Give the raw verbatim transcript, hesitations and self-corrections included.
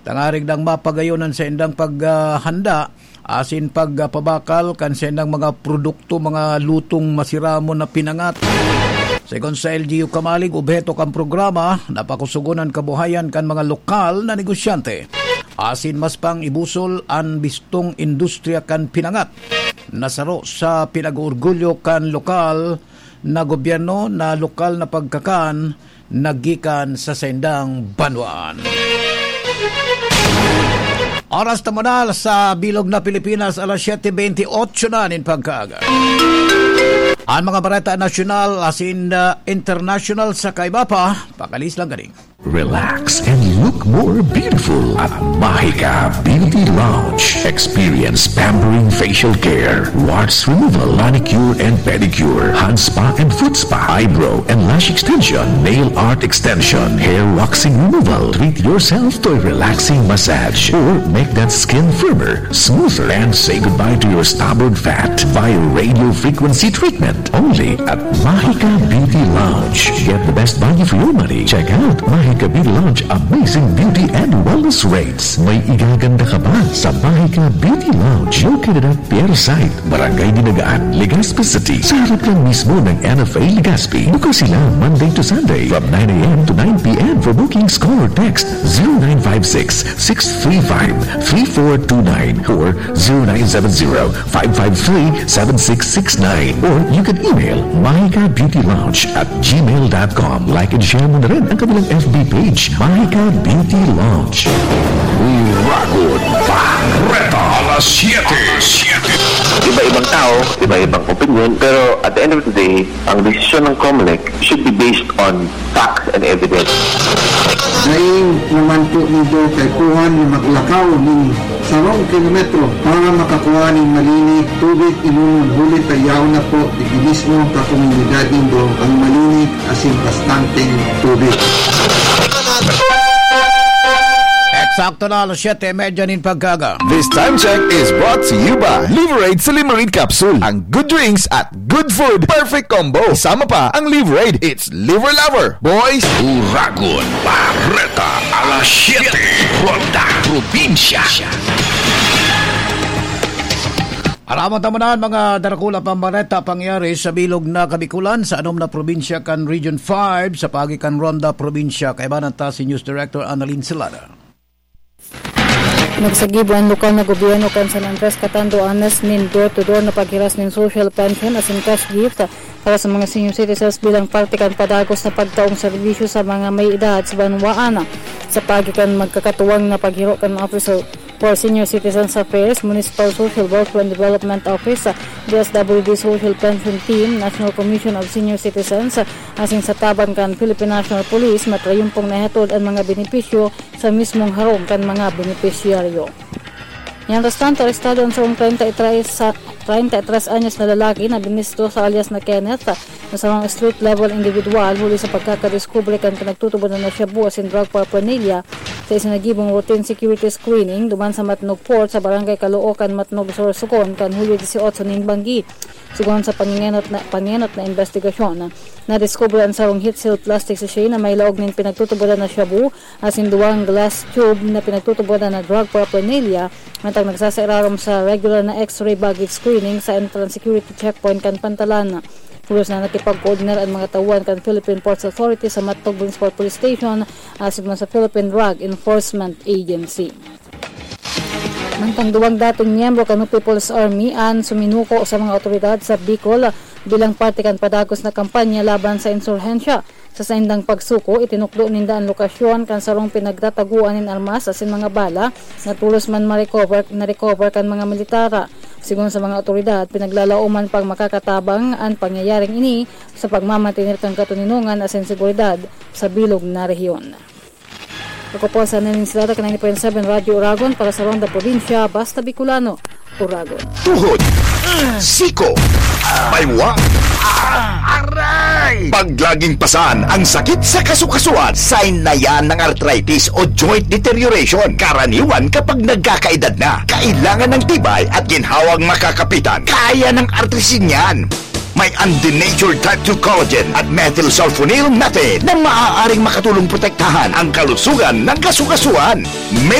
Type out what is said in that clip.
tangarig nang mapagayon an saindang paghanda asin pagpabakal kan saindang mga produkto, mga lutong masiramon na pinangat. Segun sa L G U Kamalig, obheto kan programa na pakusugon an kabuhayan kan mga lokal na negosyante asin mas pang ibusol an bistong industriya kan pinangat. Nasaro sa pinag-oorgulyo kan lokal na gobyerno na lokal na pagkakan na gikan sa saindang banwaan. Oras ta muna sa bilog na Pilipinas, alas siyete beintiotso na nin pagkaaga. An mga bareta nasyonal asin, ah, international sa kaiba pa, pakalis lang ganing. Relax and look more beautiful at Mahika Beauty Lounge. Experience pampering facial care, warts removal, manicure and pedicure, hand spa and foot spa, eyebrow and lash extension, nail art extension, hair waxing removal. Treat yourself to a relaxing massage or make that skin firmer, smoother, and say goodbye to your stubborn fat via radio frequency treatment. Only at Mahika Beauty Lounge. Get the best value for your money. Check out Mahika Beauty Lounge amazing beauty and wellness rates. May igaganda ka ba sa Mahika Beauty Lounge? Located at Pier Site, Barangay Dinagaan, Legazpi City. Sa harap lang mismo ng N F A Legazpi. Bukas sila Monday to Sunday from nine a m to nine p m. For bookings, call or text zero nine five six, six three five, three four two nine or zero nine seven zero, five five three, seven six six nine, or you can email mahika beauty lounge at gmail dot com. Like and share mo na rin ang kanilang F B page, Mahika Beauty Lounge. Uragon Bareta, alas siyete. Iba-ibang tao, iba-ibang opinion, pero at the end of the day, ang desisyon ng Comelec should be based on facts and evidence. Dai naman po nindo kaipuhan na maglakaw nin sarong kilometro para makakua nin malinig tubig inunom, huli ta yaon na po digdi mismo ka komunidad nindo ang malinig asin bastanteng tubig. Eksakto na alas siyete y media nin pagkaaga. This time check is brought to you by Liverade Silimarin Capsule. Ang good drinks at good food, perfect combo. Kasama pa ang Liverade. It's Liver Lover, boys. Uragon Bareta, alas siyete, Ronda Probinsya. Aramon ta man an mga darakula pang bareta pangyari sa bilog na Kabikulan, sa anom na probinsya kan Region five, sa paagi kan Ronda Probinsya. Kaibanan ta si News Director Annalyn Celada. Nagsagibo an lokal na gobyerno kan San Andres, Catanduanes nin door-to-door na paghiras nin social pension asin cash gift para sa mga senior citizens bilang parte kan padagos na pagtaong serbisyo sa mga may edad sa banwaan. Sa paagi kan magkakatuwang na paghiro kan Office for Senior Citizens Affairs, Municipal Social Welfare and Development Office, D S W D Social Pension Team, National Commission of Senior Citizens, asin sa tabang kan Philippine National Police, matrayumpong nahatod an mga benepisyo sa mismong harong kan mga benepisyaryo. Mientras tanto, arestado an sarong treinta y tres sa, treinta y tres anyos na lalaki na binisto sa alias na Kenneth, na sarong street-level individual, huli sa pagkakadiskubre kan pinagtutubodan na shabu asin drug paraphernalia sa isinagibong routine security screening duman sa Matnog Fort sa Barangay Caloocan, Matnog, Sorsogon, kan Hulyo dieciocho nin banggi. Sigon sa pangenot na, pangenot na imbestigasyon, nadiskubre an sarong heat-sealed plastic sachet na may laog nin pinagtutubodan na shabu asin duwang glass tube na pinagtutubodan na drug paraphernalia, mantang nagsasairarom sa regular na X-ray baggage screening sa entrance security checkpoint kan Pantalan. Pulos na nakipag-coordinate an mga tauhan kan Philippine Ports Authority sa Matnog Municipal Police Station asin man sa Philippine Drug Enforcement Agency. Mantang duwang dating miyembro kan People's Army an suminuko sa mga awtoridad sa Bicol bilang parte kan padagos na kampanya laban sa insurhensya. Sa saindang pagsuko, itinukdo ninda an lokasyon kan sarong pinagtatagoan nin armas asin mga bala na tolos man ma-recover, na-recover kan mga militar. Sigon sa mga awtoridad, pinaglalaoman pang makakatabang an pangyayaring ini sa pagmamantener kan katoninongan asin seguridad sa bilog na rehiyon. Ako po sa Nanin Sila, ninety point seven Radyo Uragon para sa Ronda Probinsya, basta Bicolano, Uragon. Tuhod, siko, baywa, aray! Pag laging pasan ang sakit sa kasukasuan, sign na yan ng arthritis o joint deterioration. Karaniwan kapag nagkakaedad na, kailangan ng tibay at ginhawang makakapitan. Kaya ng Artrisin yan. May undenatured type two collagen at methylsulfonyl methane na maaaring makatulong protektahan ang kalusugan ng kasukasuan. May